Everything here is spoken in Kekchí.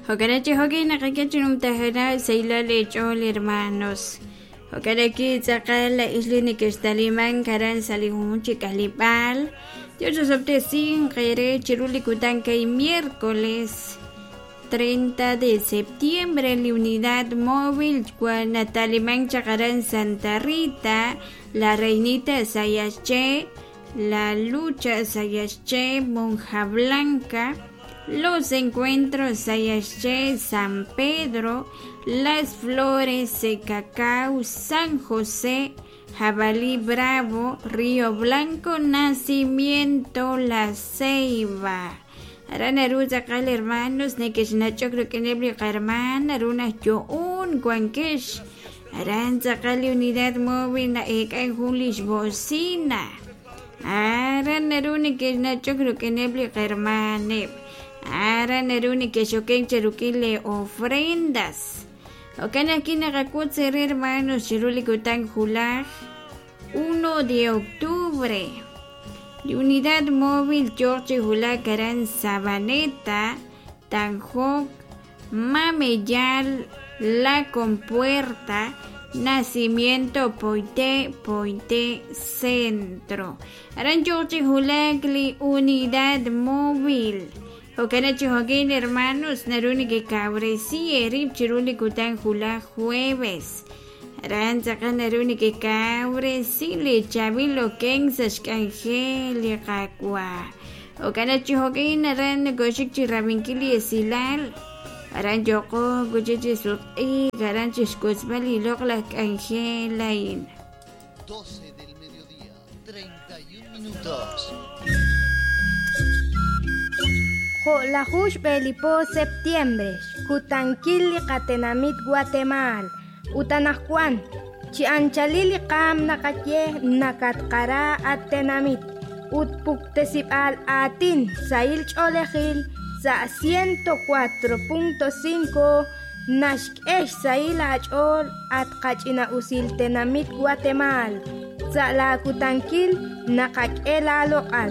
Jo'kan chi jo'kin naqak'e chi numtajenaq xsahilal eech'ool hermanos. Jo'kan aki tz'aqal laa'ex li nekextalimank aran sa' li junjunq chi k'aleb'aal. Dios osob'tesinq eere chiru li kutan kay miércoles 30 de septiembre li unidad móvil wan natalimank chaq aran Santa Rita, La Reinita Sayaxché, La Lucha Sayaxché, Monja Blanca, Los Encuentros Sayaxché, San Pedro, Las Flores, Cacao, San José, Jabalí Bravo, Río Blanco, Nacimiento, La Ceiba. Aran naru tz'aqal hermanos nekexnach'ok rik'ineb' li qahermaan naru najyo'on wankex aran tz'aqal li unidad móvil na'eek'an jun lix bocina aran naru nekexnach'ok rik'ineb' li qahermaaneb' aran naru nekexoken cheruk'in le ofrendas jo'kan ajwi' naqak'ut eere hermanos chiru li kutan julaj 1 de octubre li unidad móvil yooq chi wulak aran Sabaneta, Tanjok, Mameyal, La Compuerta, Nacimiento Poité, Poité Centro. Aran yooq chi wulak li unidad móvil. Jo'kan chi jo'kin hermanos naru nekekawresi eerib' chiru li kutan julaj jueves. Aran tz'aqal naru nekekawresi li chaab'il okenk sa' xk'anjel li Qaawa'. Jo'kan chi jo'kin aran nokoxik chi rab'inkil li esilal. Aran yooqo kuchi chi sutq'iik aran chi xkotzb'al li loq'laj k'anjel a'in. 12 del mediodía, 31 minutos. Jo'laju xb'e li po septiembre, xkutankil li qatenamit Guatemala, ut anaqwan, chi anchalil li qaam naqaye nakatqara at tenamit, ut puktesib'al aatin sahil ch'oolejil sa' 104.5 naxk'e xsahil aach'ool at qach'ina'usil tenamit Guatemala, sa' laakutankil naqak'e laaloq'al.